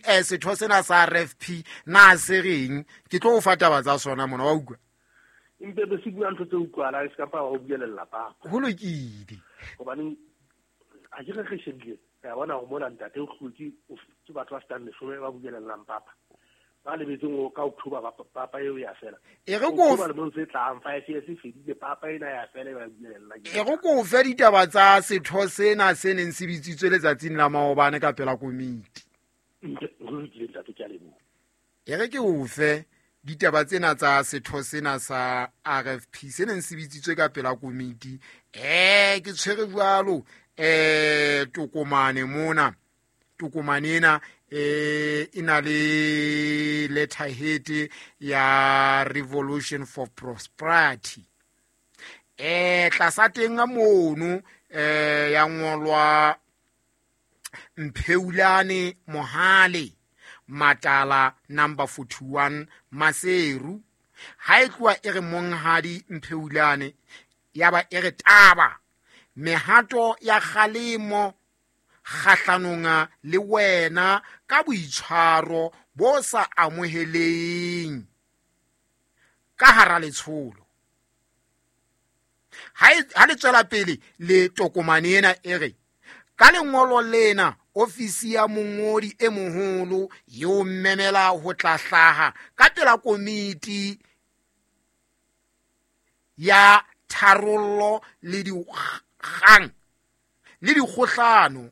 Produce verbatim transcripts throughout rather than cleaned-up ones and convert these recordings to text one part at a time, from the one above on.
eh, setho sena sa R F P na se reng ke tlo o fa taba tsa sona mona wa utlwa empe be se bua ntho tse utlwalang se ka pa ho buelella papa ho lokile hobane a ke re re shebile ya bona ho mona ntate o hlotse ke batho ba fetang leshome ba buelellang papa ba lebetseng ho ka October papa eo ya fela e re ko ba le tse tlang five years e fedile papa ena ya fela ba buelella e re ko fe ditaba tsa setho sena se neng se bitsitswe letsatsing la maobane ka pela komiti e re ke o fe ditaba tsena tsa setho sena sa R F P se neng se bitsitswe ka pela komiti eh ke tshwere jwalo eh tokomane mona tokomane ena eh e na le letterhead ya Revolution for Prosperity eh tlasa teng mono eh ya ngolwa Mpheulane Mohale Matala number forty-one Maseru ha e tloha e re monghadi Mpheulane ya ba e re taba mehato ya kgalemo kgahlanong le wena ka boitshwaro bo sa amoheleng ka hara letsholo ha le tswela pele le tokomane ena e re ka lengolo lena ofisi ya mongodi e moholo yo memela ho tla hlaha ka pela komiti ya tharollo le dikgang le dikgohlano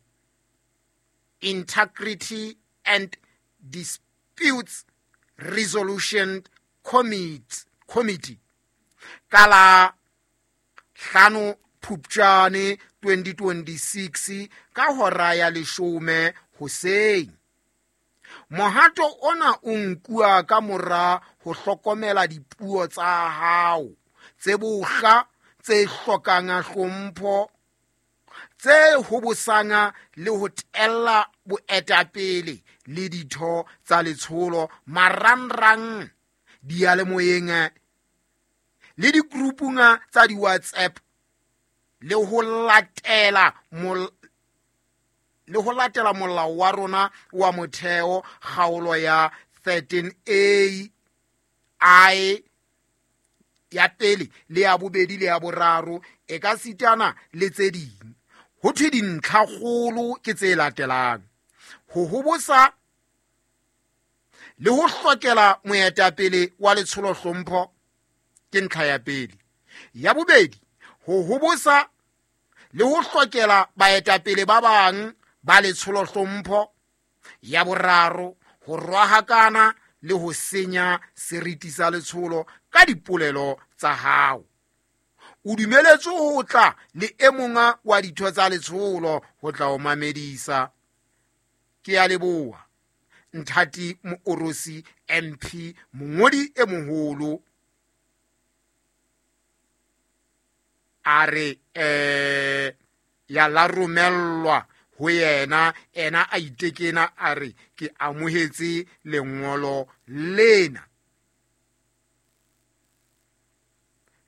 Integrity and Disputes Resolution Committee Committee ka la hlano Phupjane twenty twenty-six ka hora ya leshome hoseng. Mohato ona o nkuwa ka mora ho hlokomela dipuo tsa hao tse bohla tse hlokang hlompho tse hobosang le ho tella boetapele le ditho tsa letsholo marangrang diyalemoyeng le digrupung tsa di-WhatsApp le ho latela le ho latela molao wa rona wa motheo kgaolo ya thirteen A I ya pele le ya bobedi le ya boraro e ka sitana le tse ding. Ho thwe dintlhakgolo ke tse latelang: ho hobosa le ho hlokela moetapele wa letsholo hlompho ke ntlha ya pele. Ya bobedi, ho hobosa le ho hlokela baetapele ba bang ba letsholo hlompho. Ya boraro, ho rohakana le ho senya seriti sa letsholo ka dipolelo tsa hao. O dumeletswe ho tla le e mong wa ditho tsa letsholo ho tla o mamedisa. Ke a leboha. Nthati Moorosi M P, mongodi e moholo, a re eh ya la romellwa ho yena, ena a itekena a re ke amohetse lengolo lena.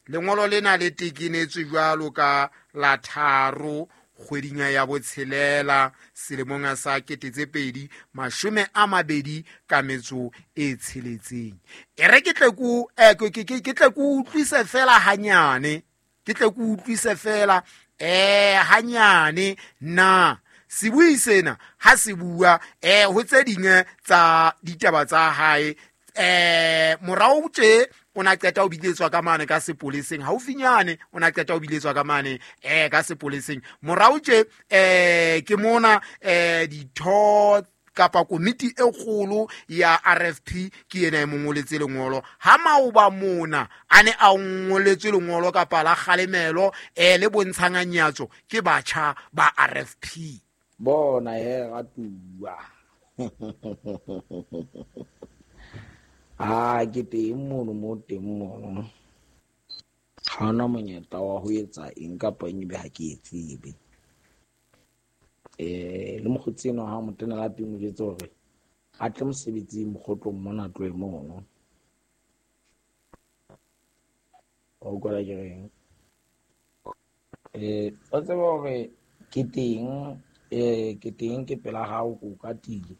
Lengolo lena le tekenetswe jwalo ka la tharo kgweding ya botshelela selemong sa kete tse pedi mashome a mabedi ka metso e tsheletseng. E re ke tle ku ke tle ku utlwise fela hanyane, ke tle ku utlwise fela eh hanyane na sebui sena ha se bua eh ho tse ding tsa ditaba tsa hae eh morao tje o na qeta o biletswa ka mane ka sepoleseng haufinyane, o na qeta o biletswa ka mane eh ka sepoleseng morao tje eh ke mona eh ditho kapa komiti e kgolo ya R F P ke yena e mongoletse lengolo. Ha maoba mona a ne a ngoletswe lengolo kapa la kgalemelo eh le bontshang nyatso ke batjha ba R F P. Bona he ratuwa. Ah, ke teng mono mo teng mono. Ha hona monyetla wa ho etsa eng kapa eng ebe ha ke e tsebe. Eh le mokgotsi enwa ha mo tena lapeng o jwetse hore a tle mosebetsing mokgotlong mona tlohe mono. Wa utlwa ke reng? Eh o tseba hore ke teng eh ke teng ke pela hao ko katile.